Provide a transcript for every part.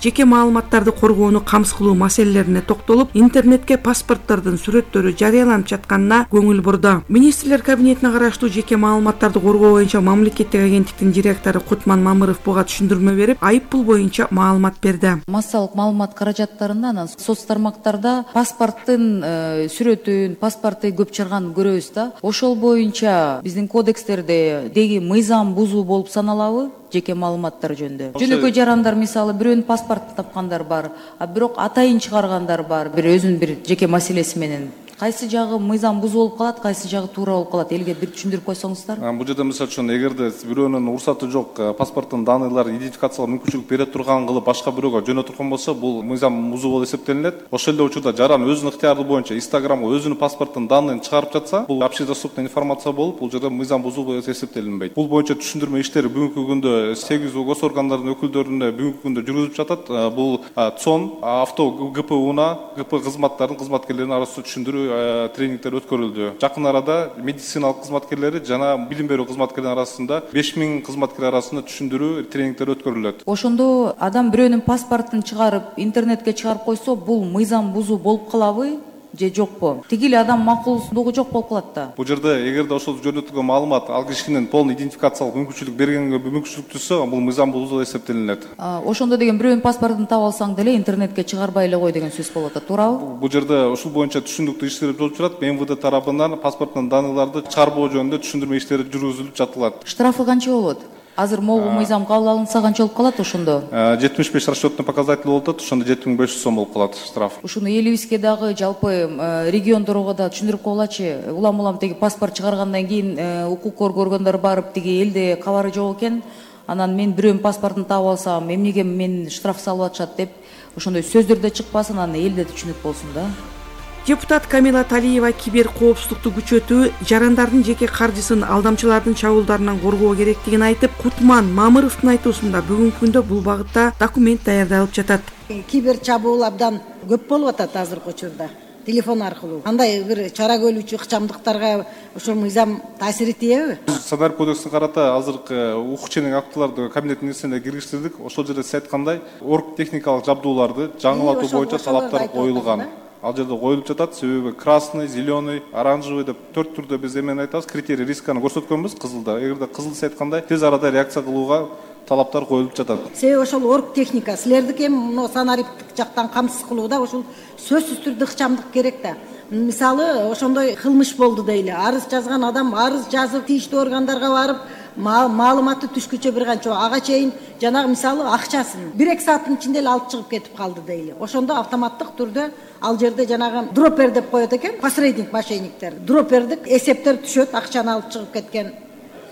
жеке маалыматтарды коргоону камсыз кылуу маселелерине токтолуп, интернетке паспорттордун сүрөттөрү жарыяланып жатканына көңүл бурду. Министрлер кабинетине караштуу жеке маалыматтарды коргоо боюнча мамлекеттик агенттиктин директору Кутман Мамыров буга түшүндүрмө берип, айып пул боюнча маалымат берди. Массалык маалымат каражаттарында анан соц тармактарда паспорттун сүрөтүн, паспортты көп чыгарганын көрөбүз да. Ошол боюнча биздин кодекстерде деги мыйзам бузуу болуп саналабы? Жеке маалыматтар жөнүндө. Жөнөкөй жарандар мисалы бирөөнүн паспортун тапкандар бар, а бирок атайын чыгаргандар бар, өзүнүн бир жеке маселеси менен. Кайсы жагы мыйзам бузуу болуп калат, кайсы жагы туура болуп калат? Элге бир түшүндүрүп койсоңуздар. Бул жерде мисалы үчүн эгерде бирөөнүн уруксаты жок, паспорттун данныйларын идентификациялоо мүмкүнчүлүк бере турган кылып башка бирөөгө жөнөтүп турган болсо, бул мыйзам бузуу болуп эсептелинет. Ошол эле учурда жаран өзүнүн ыктыяры боюнча Instagramга өзүнүн паспорттун данныйын чыгарып жатса, бул общедоступный информация болуп, бул жерде мыйзам бузуу болуп эсептелинбейт. Бул боюнча түшүндүрмө иштери бүгүнкү күндө 8 гос органдардын өкүлдөрүнө бүгүнкү күндө жүргүзүлүп жатат. Бул ЦОН, авто ГПУна, ГП кызматтарынын кызматкерлеринин арасында түшүндүрүү тренингдер өткөрүлдү. Жакын арада медициналык кызматкерлери жана билим берүү кызматкерлери арасында 5000 кызматкер арасында түшүндүрүү тренингдер өткөрүлөт. Ошондо адам бирөөнүн паспортун чыгарып, интернетке чыгарып койсо, бул мыйзам бузуу болуп калабы? Же жокпу? Тигил адам макулсундугу жок болуп калат да. Бул жерде эгерде ошол жөнөтүлгөн маалымат ал кишинин полный идентификациялык мүмкүнчүлүк бергенге мүмкүнчүлүк түзсө, бул мыйзам бузуу эсептелинет. Ошондо деген бирөөнүн паспортун таап алсаң деле интернетке чыгарбай эле кой деген сөз болуп атат, туурабы? Бул жерде ушул боюнча түшүндүктүү иштер болуп жатат. МВД тарабынан паспорттун данныйларды чыгарбоо жөнүндө түшүндүрмө иштери жүргүзүлүп жатылат. Штрафы канча болот? Азыр могу мыйзам кабыл алынса канча болуп калат ошондо? 75 расчетный показатель болуп атат, ошондо 7500 сом болуп калат штраф. Ушуну элибизге дагы жалпы региондорго да түшүндүрүп койгулачы. Улам теги паспорт чыгаргандан кийин укук коргондор барып тиги элде кабары жок экен. Анан мен бирөөнүн паспортун таап алсам, эмнеге мен штраф салып атышат деп ошондой сөздөр да чыкпасын, анан элде түшүнүк болсун да. Депутат Камила Талиева кибер коопсуздукту күчөтүү, жарандардын жеке каржысын алдамчылардын чабуулдарынан коргоо керектигин айтып, Кутман Мамыровдун айтуусунда бүгүнкү күндө бул багытта документ даярдалып жатат. Кибер чабуул абдан көп болуп атат азыркы учурда. Телефон аркылуу. Андай бир чара көрүүчү ыкчамдыктарга ошол мыйзам таасир этеби? Санарип кодексине карата азыркы укук ченек актыларды кабинеттин нерсесине киргиштирдик. Ошол жерде сиз айткандай, орг техникалык жабдууларды жаңылатуу боюнча талаптар коюлган. Ал жерде коюлуп жатат. Себеби красный, зеленый, оранжевый деп 4 түрдө биз эмени айтабыз, критерий рисканы көрсөткөнбүз кызылда. Эгерде кызыл сиз айткандай тез арада реакция кылууга талаптар коюлуп жатат. Себеби ошол орг техника силердики эми мына санариптик жактан камсыз кылууда ошол сөзсүз түрдө ыкчамдык керек да. Мисалы ошондой кылмыш болду дейли. Арыз жазган адам арыз жазып тийиштүү органдарга барып маалыматы түшкүчө бир канча ага чейин жанагы мисалы акчасын 1-2 сааттын ичинде эле алып чыгып кетип калды дейли. Ошондо автоматтык түрдө ал жерде жанагы дропер деп коет экен, посредник мошенниктер. Дропердик эсептер түшөт, акчаны алып чыгып кеткен.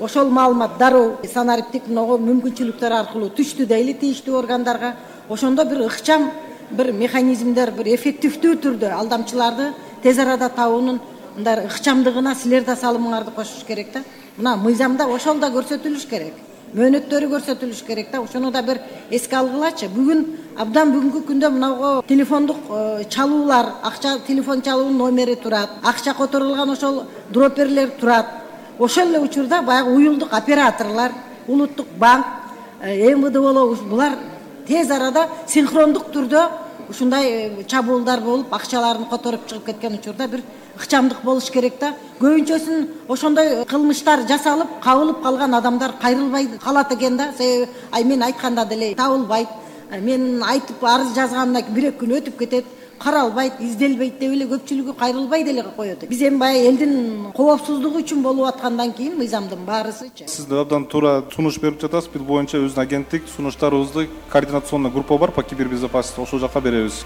Ошол маалымат дароо санариптик мүмкүнчүлүктөр аркылуу түштү дейли тийиштүү органдарга. Ошондо бир ыкчам бир механизмдер, бир эффективдүү түрдө алдамчыларды тез арада табуунун мындай ыкчамдыгына силер да салымыңарды кошуш керек да. Мына мыйзамда ошол да көрсөтүлүш керек. Мөөнөттөрү көрсөтүлүш керек да. Ошону да бир эске алгылачы. Бүгүнкү күндө мынау телефондук чалуулар, акча телефон чалуунун номери турат, акча которулган ошол дроперлер турат. Ошол эле учурда баягы уюлдук операторлор, улуттук банк, МВД болобу булар тез арада синхрондук түрдө ушундай чабуулдар болуп, акчаларын которуп чыгып кеткен учурда бир ыкчамдык болуш керек да. Көбүнчөсүн ошондой кылмыштар жасалып, кабылып калган адамдар кайрылбай калат экен да. Себеби мен айтканда деле табылбайт. Мен айтып арыз жазгандан кийин 1-2 күн өтүп кетет, каралбайт, изделбейт деп эле көпчүлүгү кайрылбай деле коет. Биз эми баягы элдин коопсуздугу үчүн болуп аткандан кийин мыйзамдын баарысычы. Сиз абдан туура сунуш берип жатасыз. Бул боюнча биздин агенттик сунуштарыбызды координационный группа бар по кибербезопасности, ошол жака беребиз.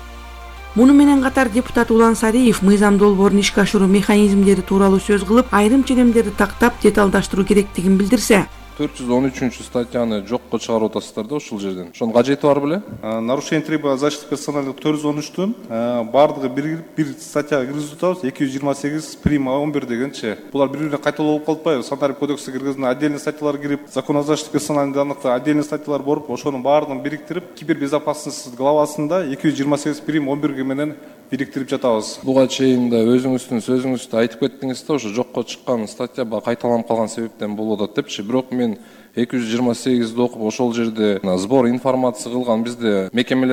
Муну менен катар депутат Улан Сариев мыйзам долбоорун ишке ашыруу механизмдери тууралуу сөз кылып, айрым ченемдерди тактап деталдаштыруу керектигин билдирсе, 413 жокко чыгарып атасыздар да ушул жерден. Ошонун кажети бар беле? Нарушение требований защиты персональных 413 бардыгы бир статьяга киргизип атабыз. 228 прим 11 дегенче. Булар бири-бирине кайталоо болуп калбайбы? Санарип кодексине киргизген отдельный статьялар кирип, закон о защите персональных данных отдельный статьялар болуп, ошонун баардыгын бириктирип, кибербезопасность главасында 228 прим 11 менен бириктирип жатабыз. Буга чейин да өзүңүздүн сөзүңүздө айтып кеттиңиз да, ошо жокко чыккан статья кайталанып калган себептен болуп атат депчи. Бирок мен 228 окуп ошол жерде сбор информация кылган бизде мекемелер